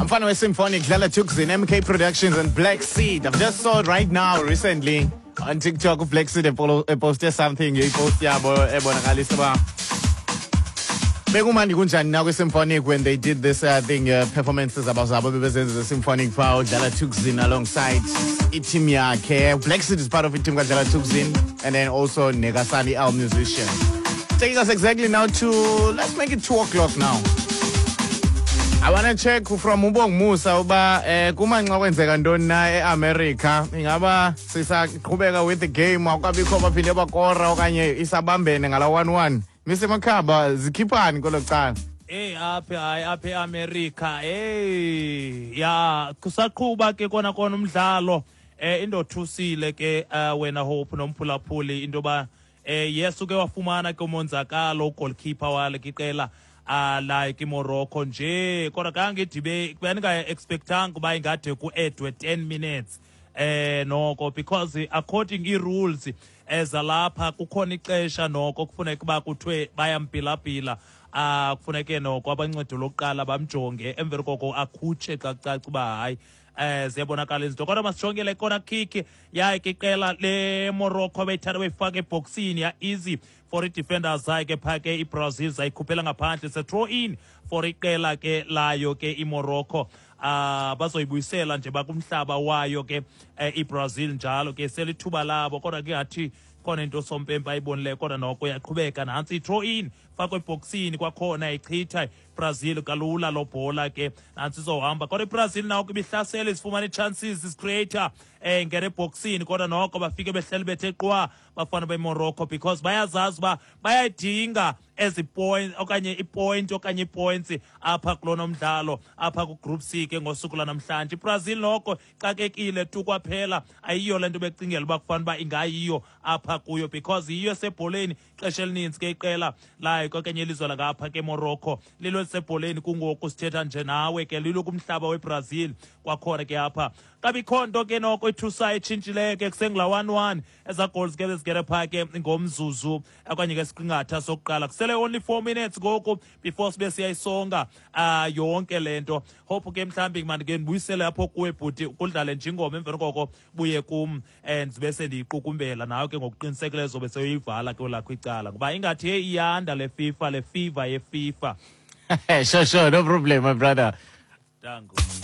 Mfana we-Symphonic, Dlala Thukzin, MK Productions and Black Seed. I've just saw it right now recently on TikTok Black Seed eposte something, ipost yabo ebonakalisa uba bekumandi kunjani na kwi-Symphonic when they did this thing, performances zabo zabo bebezenza ze-Symphonic phaa, uDlala Thukzin alongside i-team yakhe. Black Seed is part of i-team kaDlala Thukzin and then also Nekasani L musician. Taking us exactly now to, let's make it 2 o'clock now. I want to check from uBong Musa uba kumanxa kwenzeka ntoni na eAmerica, ingaba sisaqhubeka with the game, akukabikho baphinde bakora okanye isabambene ngala 1-1. Mr Makhaba, zikhiphani kwelo cala? Hey, apha, hayi, apha eAmerica, hey, ya, kusaqhuba ke kona kona umdlalo. Indothusile ke wena Hope nomphulaphuli into ba yes, uke wafumana ke umonzakalo goalkeeper wale iqela like iMorocco nje, kodwa kange idibe beninga-expectanga uba ingade ku-addwe 10 minutes noko, because according ii-rules ezalapha kukhona ixesha noko kufuneka uba kuthiwe bayampilapila, kufuneke noko abancedo lokuqala bamjonge, emveni koko akhutshe xa kucaca uba hayi, ziyabonakala izinto. Kodwa masijongele corner kick yaye ke iqela leMorocco beyithanda beyifaka ebhoksini, ya easy for i-defenders zayo ke phaa ke iBrazil, zayikhuphela ngaphandle, se throw in for iqela ke layo ke iMorocco. Bazoyibuyisela nje bakumhlaba wayo ke iBrazil njalo ke selithuba labo, kodwa ke ngathi khona into sompempe ayibonileyo, kodwa noko uyaqhubeka. Nantsi i-throw in, fakwe ebhoksini kwakhona, ichitha Brazil kalula lo bhola ke. Nantsi izohamba, kodwa iBrazil nawo ibihlasela, izifumana ii-chances, izicreator ngena ebhoksini, kodwa noko bafike behleli bethe qwa bafana beMorocco, because bayazazi uba bayayidinga ezi point okanye ipoint okanye ipoints apha kulona mdlalo apha ku-group C ke ngosuku lwanamhlanje. IBrazil noko xakekile tu kwaphela, ayiyo le nto becingela uba kufanele uba ingayiyo apha kuyo, because yiyo esebholeni ixesha elininzi ke iqela layo okanye ilizwe langapha ke Morocco lilo elisebholeni kungoku sithetha nje nawe ke, lilo kumhlaba weBrazil kwakhona ke apha. Kabikho nto ke noko ithusayo etshintshileyo ke, kusengula 1-1. Eza goals ke bezigere phaa ke ngomzuzu okanye ke siqingatha sokuqala. Kusele only 4 minutes ngoku before sibe siyayisonga yonke le nto. Hope ke mhlawumbi mandike ndibuyisele apho kuwe bhuti, kudlale nje ingoma, emveni koko buye kum and zibe sendiyiqukumbela nawe ke ngokuqinisekileyo, zobe seyoyivala ke lakho icala, ngoba ingathi hey, iyanda le FIFA, le fever yeFIFA. Sure, no problem, my brother. Danko.